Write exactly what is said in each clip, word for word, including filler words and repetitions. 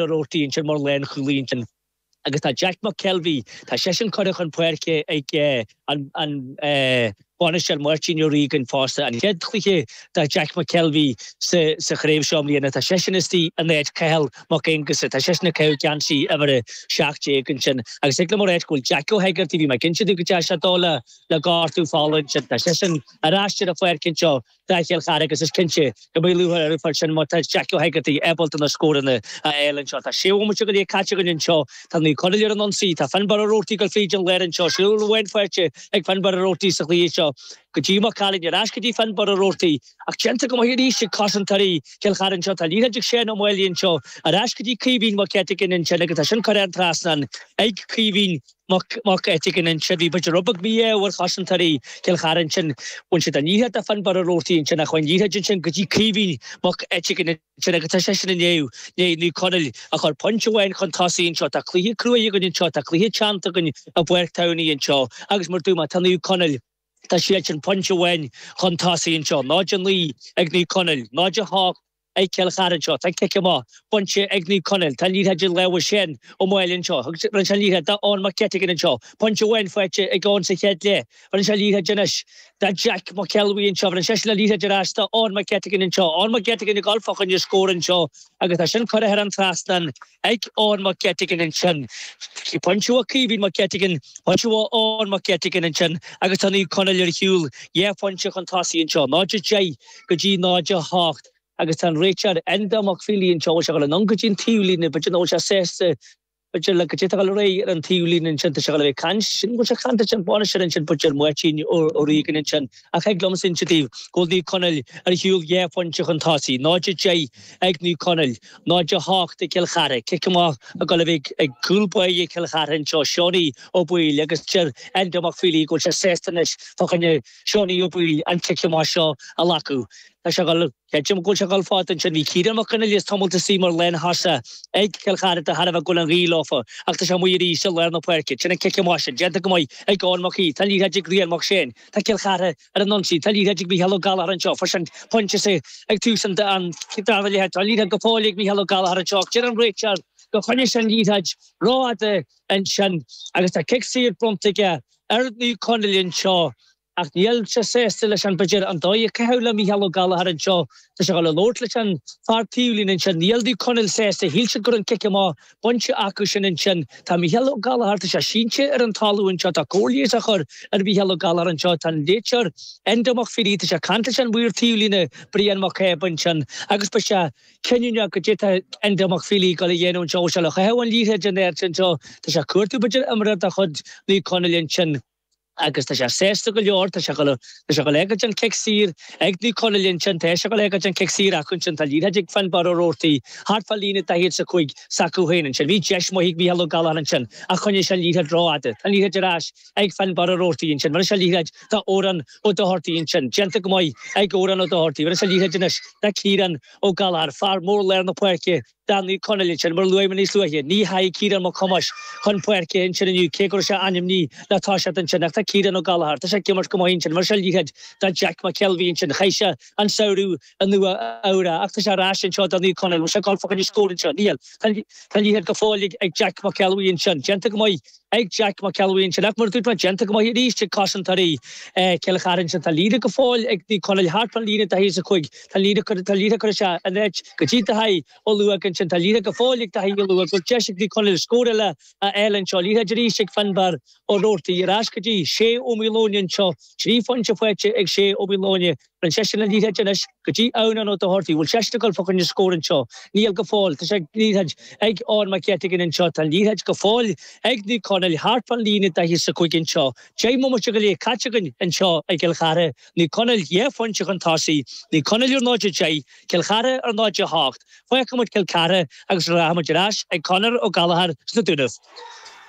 Ó Roarty ansin mar lánchúlaí ansin. Agus tá Jack McKelvey, tá seisean curtha chun páirce ag an an bainisteoir Máirtín Ó Riagáin fosta. An chéad chluiche do Jack McKelvey sa sa chraobh seo i mbliana, tá seisean istigh in áit Cathal Mac Aonghusa, tá seisean ag caitheamh geansaí uimhir a seacht déag ansin. Agus thig liom a ráit go bhfuil Jack Ó hEigeartaigh, bhí mé ag inse daoibh go dteachaigh sé dó le le gortú fola ansin, tá seisean ar ais ar an pháirc anseo do Chill Chartha agus is cinnte go mbeidh lúcháir orthu fá sin má tá Jack Ó hEigeartaigh ábalta na scóranna a fháil anseo. Tá sé bhomaite go leith caite againn anseo. Tá Naomh Conaill ar an ionsaí. Tá Finbarr Ó Roarty ag dul fríd an lár anseo. Scór amháin faighte ag Finbarr Ó Roarty sa chluiche seo. Go dtí Mac Caitlín, ar ais go dtí Finbarr Ó Roarty. Ach déanta go maith arís ag cosantóirí Chill Chartha anseo. Tá liathróid ag Seán Ó Máille anseo. Ar ais go dtí Caoimhín Mac Eiteagáin ansin agus tá sin curtha thar an trasnán ag Caoimhín Mac Eiteagáin ansin. Bhí b'fhéidir rud beag mí-ádh ar chosantóirí Chill Chartha ansin. Bhain siad an liathróid de Finbarr Ó Roarty ansin ach chuaigh an liathróid ansin go dtí Caoimhín Mac Eiteagáin ansin agus tá seisean i ndiaidh Naomh Conaill a chur pointe amháin chun tosaigh anseo. Tá cluiche cruaidh againn anseo, tá cluiche teannta againn i bPáirc Towney anseo agus mar dúirt mé, tá Naomh Conaill, tá siadsan pointe amháin chun tosaigh anseo. náid a naoi ag Naomh Conaill, náid a hocht ag Cill Chartha anseo. Tá cic amach bainte ag Naomh Conaill. Tá an liathróid i lámha Shane Ó Máille anseo. Rinne sé an liathróid d'Eoin Mac Eiteagáin anseo. Pointe amháin faighte ag Eoin sa chéad leath. Rinne sé an liathróid anois do Jack McElwee anseo. Rinne seisean an liathróid ar ais d'Eoin Mac Eiteagáin anseo. Eoin Mac Eiteagáin ag dul fá choinne scór anseo agus tá sin curtha thar an trasnán ag Eoin Mac Eiteagáin ansin. Pointe ó Caoimhín Mac Eiteagáin, pointe ó Eoin Mac Eiteagáin ansin agus tá Naomh Conaill ar shiúl dhá phointe chun tosaigh anseo, náid a deich go dtí náid a hocht. Agus tá an réiteoir Enda Mac Fílí anseo, bhfuil sé ag dul anonn go dtí an taobhlíne, b'fhéidir nach bhfuil sé sásta, b'fhéidir le goidé atá ag dul ar aghaidh ar an taobhlíne ansin, tá sé ag dul a bheith ag caint, sin, bhfuil sé ag caint leis an bhainisteoir ansin, b'fhéidir Máirtín Ó Riagáin ansin. Ach thig liomsa inse daoibh go bhfuil Naomh Conaill ar shiúl dhá phointe chun tosaigh, náid a deich ag Naomh Conaill, náid a hocht ag Cill Chartha. Cic amach ag dul a bheith ag cúl báire Chill Chartha anseo, Seánie Ó Baoill, agus deir Enda Mac Fílí go bhfuil sé sásta anois fá choinne Seánie Ó Baoill an cic amach seo a ghlacadh. Tá sé ag dul, creidim go bhfuil sé ag dul fada ansin. Bhí Ciarán Mac Fhionnghaile tamall istigh mar lánthosaí ag Cill Chartha de thairbhe go bhfuil an ghaoth leofa ach tá sé amuigh arís i lár na páirce. Sin an cic amach sin, déanta go maith ag Eoin Mac Aoidh. Tá an liathróid ag Rian Mac Séain. Tá Cill Chartha ar an ionsaí. Tá an liathróid ag Mícheál Ó Gallchóir anseo. Fuair sé an pointe sa ag tús an dara leath. Tá an liathróid go fóill ag Mícheál Ó Gallchóir anseo ach deir an réiteoir gur choinnigh sé an liathróid rófhada ansin agus tá cic saor bronnta aige ar Naomh Conaill anseo. Ach níl sé sásta leis an, b'fhéidir, an dóigh a caitheadh le Mícheál Ó Gallchóir anseo. Tá sé ag dul a labhairt leis an fear taobhlíne ansin. Níl Naomh Conaill sásta. Shíl siad go raibh an cic amach bainte acu sin ansin. Tá Mícheál Ó Gallchóir, tá sé sínte ar an talamh anseo. Tá cóir leighis á chur ar Mhícheál Ó Gallchóir anseo. Tá an réiteoir, Enda Mac Fírí, tá sé ag caint leis an maor taobhlíne, Brian Mac Cába ansin agus beidh sé cinniúnach goidé tá Enda Mac Fílí ag dul a dhéanamh anseo. Bhfuil sé le caitheamh an liathróid in airde anseo? Tá sé ag cuartú, b'fhéidir, imreoir de chuid Naomh Conaill ansin. Agus tá sé sásta go leor, tá sé ag dul, tá sé ag dul ag an cic saor ag Naomh Conaill ansin, tá sé ag dul ag an cic saor acu ansin, tá liathróid ag Finbarr Ó Roarty thart fá líne daichead is a cúig s'acu féin ansin. Bhí deis maith ag Mícheál Ó Gallchóir ansin ach choinnigh sé an liathróid rófhada. Tá an liathróid ar ais ag Finbarr Ó Roarty ansin. Rinne sé an liathróid do Odhrán Ó Dochartaigh ansin. Déanta go maith ag Odhrán Ó Dochartaigh. Rinne sé an liathróid anois do Ciarán Ó Gallchóir, fear mór lár na páirce. Do Naomh Conaill ansin, mar a luaigh mé níos luaithe, ní theachaigh Ciarán Mac Thomáis chun páirce ansin inniu, cé go raibh sé ainmnithe le toiseacht ansin, ach tá Ciarán Ó Gallchóir, tá sé ag imirt go maith ansin, rinne sé liathróid do Jack McKelvey ansin, chaith sé an samhradh i Nua Eabhrac, ach tá sé ar ais anseo do Naomh Conaill, bhfuil sé ag dul fá choinne scór anseo? Níl. Tá an liathróid go fóill ag Jack McElwee ansin, déanta go maith ag Jack McElwee ansin, ach mar a dúirt mé, déanta go maith arís ag cosantóirí Chill Chartha ansin, tá liathróid go fóill ag Naomh Conaill thart fán líne daichead is a cúig, tá an liathróid curtha isteach in áit go dtí Daithí Ó Lúóg ansin. Tá liathróid go fóill ag Daithí Ó Lúóg. Bhfuil deis ag Naomh Conaill scór eile a fháil anseo. Liathróid arís ag Finbarr Ó Roarty. Ar ais go dtí Shay Ó Maoileoin anseo. Trí phointe faighte ag Shay Ó Maoileoin. Rinne seisean an liathróid anois go dtí Eoghan Ó Dochartaigh. Bhfuil seisean ag dul fá choinne scór anseo? Níl go fóill. Tá sé liathróid ag Eoin Mac Eiteagáin anseo. Tá an liathróid go fóill ag Naomh Conaill thart fán líne daichead is a cúig anseo. Deich mbomaite go leith caite againn anseo i gCill Chartha. Naomh Conaill dhá phointe chun tosaigh. Naomh Conaill ar náid a deich, Cill Chartha ar náid a hocht. Fágfaidh muid Cill Chartha agus rachaidh muid ar ais ag Conor Ó Gallchóir sna Dúnaibh.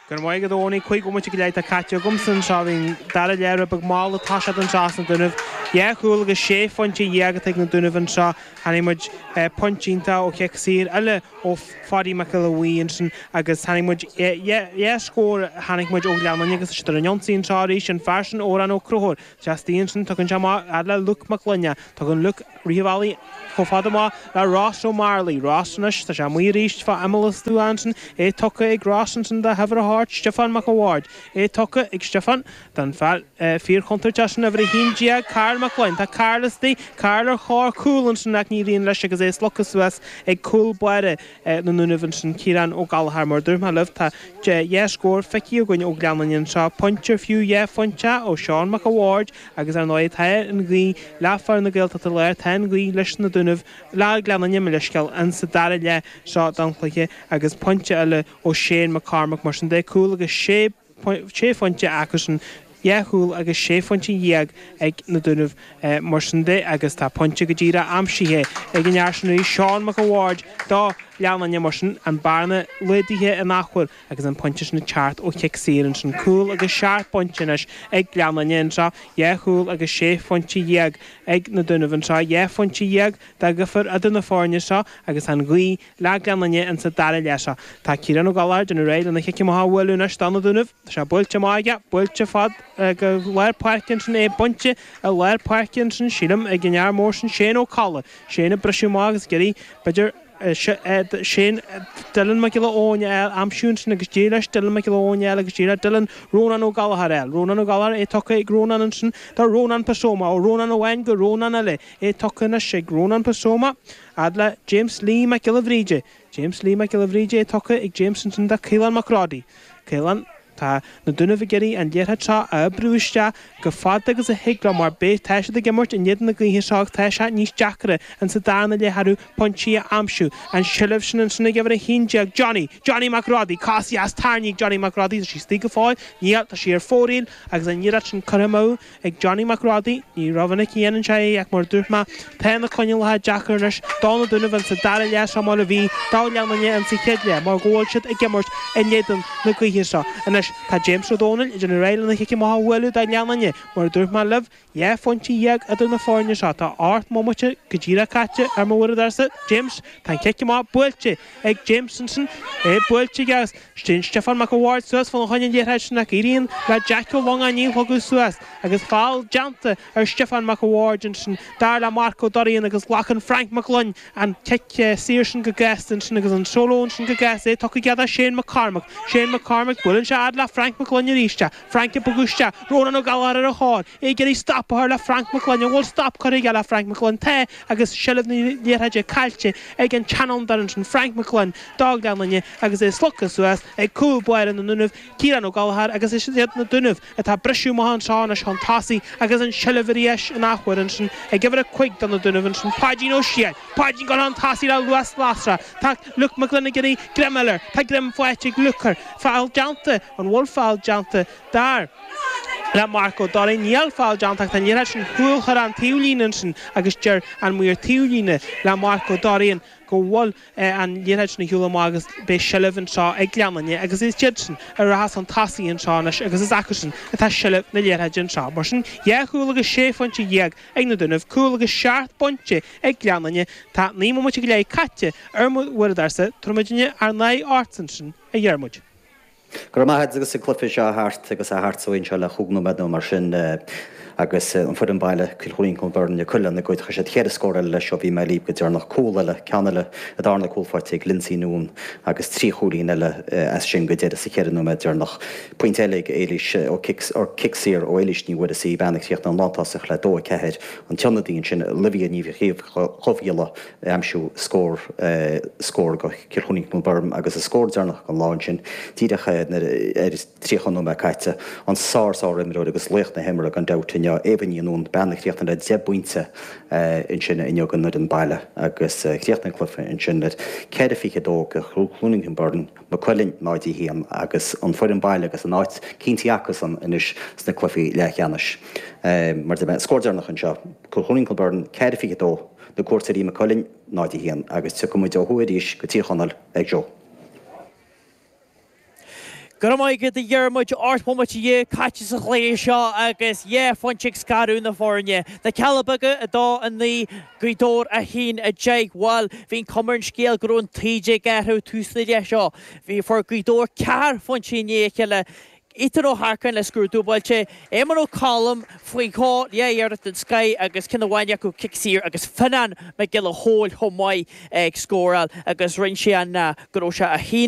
Go raibh maith agat a Eoiní, cúig bhomaite go leith atá caite agamsa anseo. Bhí an dara leath rud beag mall ag toiseacht anseo sna Dúnaibh. Dhá chúl agus sé phointe dhéag atá ag na Dúnaibh anseo. Chonaic muid pointe iontach ó chic saor eile ó Pháidí Mac Giolla Bhuí ansin agus tháinig muid dhá scór tháinig muid ó Ghleann Fhinne agus siad ar an ionsaí anseo arís an fear sin Odhrán Ó Conchúir istigh ansin tugann sé amach fhad le Luke Mac Gloine tugann Luke rith an bhealaigh chomh fada amach le Ross Ó Marlaí Ross anois tá sé amuigh arís fá imeall an stua ansin é tugtha ag Ross ansin do uimhir a hocht Stiofán Mac a' Bhaird é tugtha ag Stiofán don fear fíorchontúirteach sin uimhir a haon déag Karl Mac Gloinn tá Karl istigh Karl ar thóir cúl ansin ach ní éiríonn leis agus é slogtha suas ag cúl báire na nDúnaibh ansin Ciarán Ó Gallchóir mar dúirt mé libh tá dhá scór feicthe againn ó Ghleann Fhinne anseo pointe fiú dhá phointe ó Seán Mac a' Bhaird agus ar ndóigh tá an ghaoth le fear na Gaeltachta Láir tá an ghaoth leis na Dúnaibh le Gleann Fhinne mo leithscéal an sa dara leath seo den chluiche agus pointe eile ó Shane McCormack mar sin de cúl agus sé sé phointe acusan dhá chúl agus sé phointe dhéag ag na Dúnaibh mar sin de agus tá pointe go díreach aimsithe ag an fhear sin Seán Mac a' Bhaird do Ghleann Fhinne mar sin an bearna laghdaithe in athuair agus an pointe sin teacht ó chic saor ansin cúl agus seacht bpointe anois ag Gleann Fhinne anseo dhá chúl agus sé phointe dhéag ag na Dúnaibh anseo dhá phointe dhéag de dhifear idir na foirne seo agus an ghaoth le Gleann Fhinne in sa dara leath seo. Tá Ciarán Ó Gallchóir déanamh réidh lena chic amach a bhualadh anois do na Dúnaibh Tá sé buailte amach aige buailte fad go lár páirce ansin é bainte i lár páirce ansin sílim ag an fhear mór sin Shane Ó Colla. Shane ag briseadh amach agus ag iarraidh b'fhéidir Shane Dylan Mac Giolla Eoin a aimsiú ansin agus d'éirigh leis Dylan Mac Giolla Eoin agus d'éirigh le Dylan Rónán Ó Gallchóir eile. Rónán Ó Gallchóir é tugtha ag Rónán ansin do Rónán Pasoma ó Rónán amháin go Rónán eile é tugtha anois ag Rónán Pasoma fhad le James Lee Mac Giolla Bhríde. James Lee Mac Giolla Bhríde é tugtha ag James ansin do Caolán Mac Roddy. Caolán Tá na Dúnaibh ag iarraidh an liathróid seo a oibriú isteach go fada agus a thig leo mar beidh tá siad ag imirt in éadan na gaoithe seo agus tá sé níos deacra in sa darna leath orthu pointí a aimsiú. An seilbh sin ansin ag uimhir a haon déag Johnny, Johnny McRoddy, cos dheas tarraingthe ag Johnny McRoddy, tá sí istigh go fóill, níl tá sí ar fóraoil agus an iarracht sin curtha amú ag Johnny McRoddy, ní rómhinic a dhéanann sé é ach mar dúirt mé tá na coinníollacha deacair anois do na Dúnaibh in sa dara leath seo mar a bhí do Ghleann Fhinne in sa chéad leath mar go bhfuil siad ag imirt in éadan na gaoithe seo. Anois tá James Ó Dónaill ag déanamh réidh lena chic amach a bhualadh do Ghleann Fhinne mar dúirt mé libh dhá phointe dhéag idir na foirne seo tá ocht mbomaite go díreach caite ar mo uaireadóirsa James tá an cic amach buailte ag James ansin é buailte agus Sin Stefan Mac a' Bhaird suas fána choinne an liathróid sin ach éiríonn le Jack Ó Longáin í a shlogadh suas agus feall déanta ar Stefan Mac a' Bhaird ansin dar le Marco Dorian agus glacann Frank McGlynn an cic saor sin go gasta ansin agus an solo ansin go gasta é tugtha aige do Shane McCormack. Shane McCormack buaileann sé fhad le Frank McGlynn arís Frank ag bogadh isteach Ronan Ó Gallchóir ar a thóir é ag iarraidh stop a chur le Frank McGlynn an bhfuil stop curtha aige le Frank McGlynn tá agus seilbh na liathróide caillte ag an tseanfhondúir ansin Frank McGlynn do Ghleann Fhinne agus é slogtha suas ag cúl báire na nDúnaibh Ciarán Ó Gallchóir agus is iad na Dúnaibh atá briseadh amach anseo anois chun tosaigh agus an seilbh arís in athuair ansin ag uimhir a cúig do na Dúnaibh ansin Páidín Ó Siail Páidín go chun tosaigh le luas lasrach Tá Luke McGlynn ag iarraidh greim a fháil air Tá greim faighte ag Luke air feall déanta an bhfuil feall déanta dar le Marco Dorian níl feall déanta ach tá an liathróid sin cúl chuir an taobhlíne ansin agus deir an maor taobhlíne le Marco Dorian go bhfuil an liathróid sin ar shiúl amach agus beidh seilbh anseo ag Gleann Fhinne agus is iad sin a rachas chun tosaigh anseo anois agus is acusan atá seilbh na liathróide anseo. Mar sin dhá chúl agus sé phointe dhéag ag na Dúnaibh, cúl agus seacht bpointe ag Gleann Fhinne tá naoi mbomaite go leith caite ar mo uaireadóirsa tabharfaimid ár n-aghaidh ort ansin a Dhiarmuid. Go raibh maith agus an cluiche seo thart agus a thart so seo le cúig nóiméad nó mar sin agus an foireann baile Cill Chluain Kilbirnie cúl lena gcuid chuir siad ceithre scór eile leis seo bhí mé libh go deireanach cúl eile ceann eile a darna cúl faighte ag Lindsay Noon agus trí chúilín eile as sin go deireadh sa cheithre nóiméad deireanach. Pointe eile ag Éilís ó cic saor ó Éilís Ní Mhuireasa bean chríochnaigh an lántosach le dó a ceathair an tionadaí sin Olivia Ní Chomhghiolla aimsiú scór scór go Cill Chluain Kilbirnie agus a scór deireanach an lá sin díreach ar tríocha nóiméad caite an sár sár imreoir agus laoch na himeartha gan dabht inniu Éabha Ní Noon bean a chríochnaigh le deich bpointe ansin inniu don fhoireann baile agus chríochnaigh an cluiche ansin le ceithre fiche dó go Chluain Kilbirnie Maigh Cuilinn náid a haon agus an foireann baile agus an áit cinnte acusan anois sna cluichí leathcheannais. Mar de scór deireanach anseo Cill Chluain Kilbirnie ceithre fiche dó na cuairteoirí Maigh Cuilinn náid a haon agus tiocfaimid ó thuaidh arís go Tír Chonaill ag Joe. Go maith agat a Dhiarmuid ocht mbomaite déag caite sa chluiche seo agus dhá phointe ag scaradh na foirne. Na Cealla Beaga a dó a naoi Gaoth Dobhair a haon a deich bhuel bhí an chuma ar an scéal go raibh an taoide ag athrú tús na leath seo. Bhí fuair Gaoth Dobhair ceathair phointe i ndiaidh a chéile. Ethan Ó hEarcáin le scór dúbailte, Éamon Ó Colm faoi dhó leathiarracht den scoth agus ceann amháin acu cic saor agus Fionnán Mac Giolla Chóill chomh maith ag scóráil agus rinne sé an go raibh sé a haon